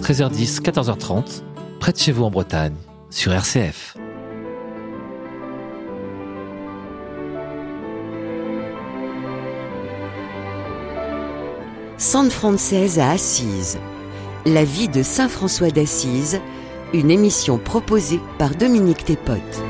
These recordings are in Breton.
13h10, 14h30, près de chez vous en Bretagne, sur RCF. San Francés à Assise. La vie de Saint François d'Assise, une émission proposée par Dominique Thépote.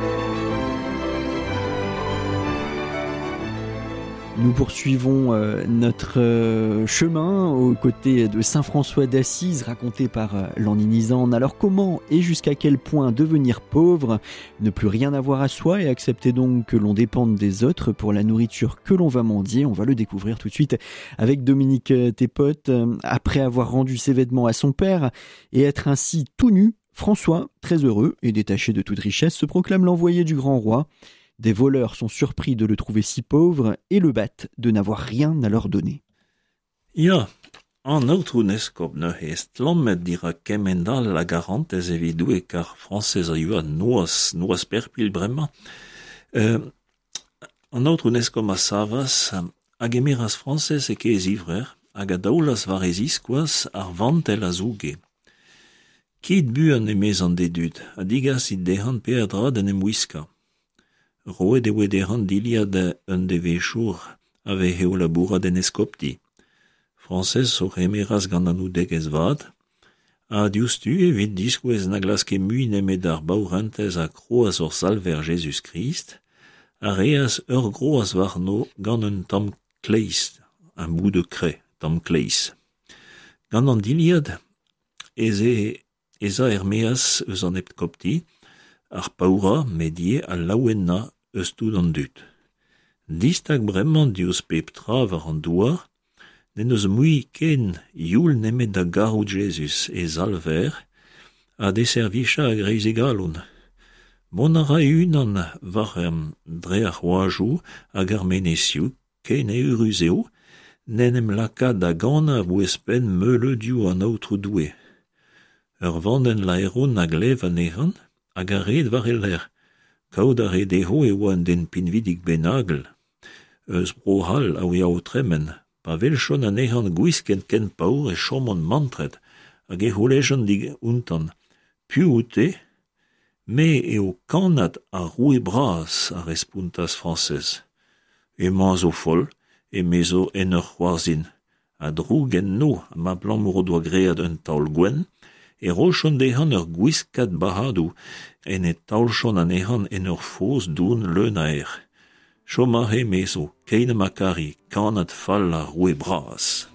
Nous poursuivons euh, notre euh, chemin aux côtés de Saint François d'Assise, raconté par euh, Lanninizan. Alors comment et jusqu'à quel point devenir pauvre, ne plus rien avoir à soi et accepter donc que l'on dépende des autres pour la nourriture que l'on va mendier On va le découvrir tout de suite avec Dominique Thépote. Après avoir rendu ses vêtements à son père et être ainsi tout nu, François, très heureux et détaché de toute richesse, se proclame l'envoyé du grand roi. Des voleurs sont surpris de le trouver si pauvre et le battent de n'avoir rien à leur donner. Ya, an Aotrou 'n Eskob neuze, estlammet dirak kement all a garantez evit Doue kar Frañsez a yoa noazh, noazh-perpilh bremañ, an Aotrou 'n Eskob a savas, a gemeras Frañsez e e zivrec'h hag a daolas war e ziskoaz ar vantell a zouge. Kit buan, emezañ d'e dud, ha digasit dezhañ peadra d'en em wiskañ. Roet e voe dezhañ dilhad un devezhour a veze o labourat en eskopti. Frañsez o c'hemeras gant anaoudegezh vat, ha diouzhtu evit diskouez na glaske mui nemet ar baourentez ha kroaz hor Salver Jezuz-Krist, a reas ur groaz warno gant un tamm kleiz, un bout de craie, tamm kleiz. Gant an dilhad ez eo ez a er-maez eus an eskopti, ar paourañ met ivez al laouenañ eus tout an dud. Distag bremañ diouzh pep tra war an douar, n'en deus mui ken youl nemet da garout Jezuz, e Salver, ha d'e servijañ a-greiz e galon. Mont a ra e-unan war dre ar c'hoajoù hag ar menezioù, Ken eürus eo n'en em laka da ganañ a-bouez-penn meuleudioù an Aotrou Doue. Ur vandenn laeron a glev anezhañ hag a red war e lerc'h. Kaout a rae dezho e oa un den pinvidik bennak eus Bro-C'hall a oa o tremen. Pa weljont anezhañ gwisket ken paour e chomont mantret hag e c'houlejont outañ Piv out-te? Me eo kannad ar roue bras, a respontas Frañsez. Hemañ a zo foll, emezo en ur c'hoarzhin. Ha droug enno abalamour o doa graet un taol gwenn, e rojont dezhañ ur gwiskad bac'hadoù en e taoljont anezhañ en ur foz don leun a erc'h. Chom aze, emezo, keit ha ma kari, kannad fall ar roue bras.